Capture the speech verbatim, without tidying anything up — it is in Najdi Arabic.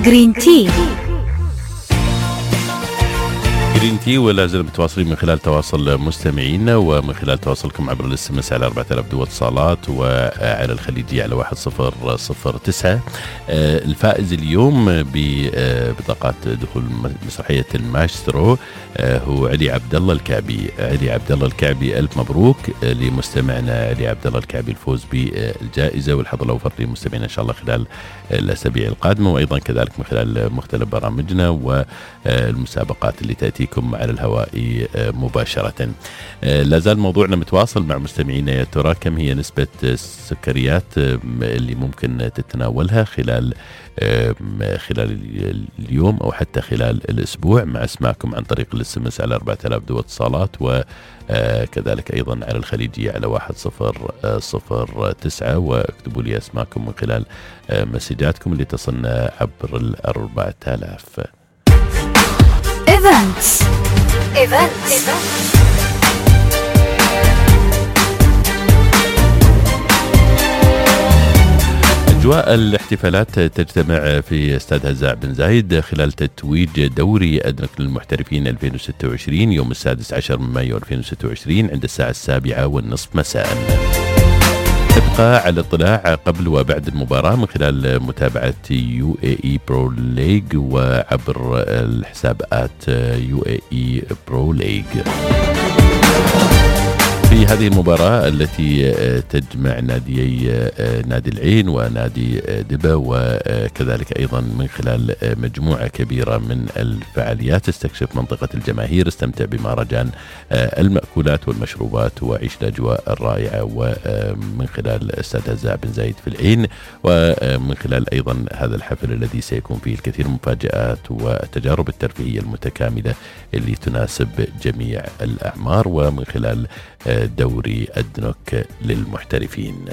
جرين تي جرين تي ولا زال متواصلين من خلال تواصل مستمعينا ومن خلال تواصلكم عبر الاس ام اس على أربعة آلاف دو اتصالات وعلى الخليجية على واحد صفر صفر تسعة. الفائز اليوم ببطاقات دخول مسرحية المايسترو هو علي عبد الله الكعبي. علي عبد الله الكعبي ألف مبروك لمستمعنا علي عبد الله الكعبي الفوز بالجائزة، والحظ الأوفر لمستمعينا إن شاء الله خلال الأسابيع القادمة، وأيضا كذلك من خلال مختلف برامجنا والمسابقات اللي تأتيكم على الهواء مباشرة. لازال موضوعنا متواصل مع مستمعينا، يا ترى كم هي نسبة السكريات اللي ممكن تتناولها خلال خلال اليوم أو حتى خلال الأسبوع، مع اسماءكم عن طريق الاس ام اس على أربعة آلاف دو اتصالات، وكذلك أيضا على الخليجية على واحد صفر صفر تسعة، واكتبوا لي اسماءكم من خلال مسجاتكم اللي تصلنا عبر الأربعة آلاف. Events. Events. أجواء الاحتفالات تجتمع في استاد هزاع بن زايد خلال تتويج دوري أدنك للمحترفين ألفين وستة وعشرين يوم السادس عشر من مايو ألفين وستة وعشرين عند الساعة السابعة والنصف مساء. تبقى على اطلاع قبل وبعد المباراة من خلال متابعة يو اي اي برو ليج وعبر الحساب آت يو اي اي برو ليج. في هذه المباراة التي تجمع ناديي نادي العين ونادي دبا، وكذلك أيضا من خلال مجموعة كبيرة من الفعاليات، استكشف منطقة الجماهير، استمتع بمهرجان المأكولات والمشروبات، وعيش الأجواء الرائعة، ومن خلال استاد هزاع بن زايد في العين، ومن خلال أيضا هذا الحفل الذي سيكون فيه الكثير من المفاجآت والتجارب الترفيهية المتكاملة اللي تناسب جميع الأعمار، ومن خلال دوري أدنك للمحترفين.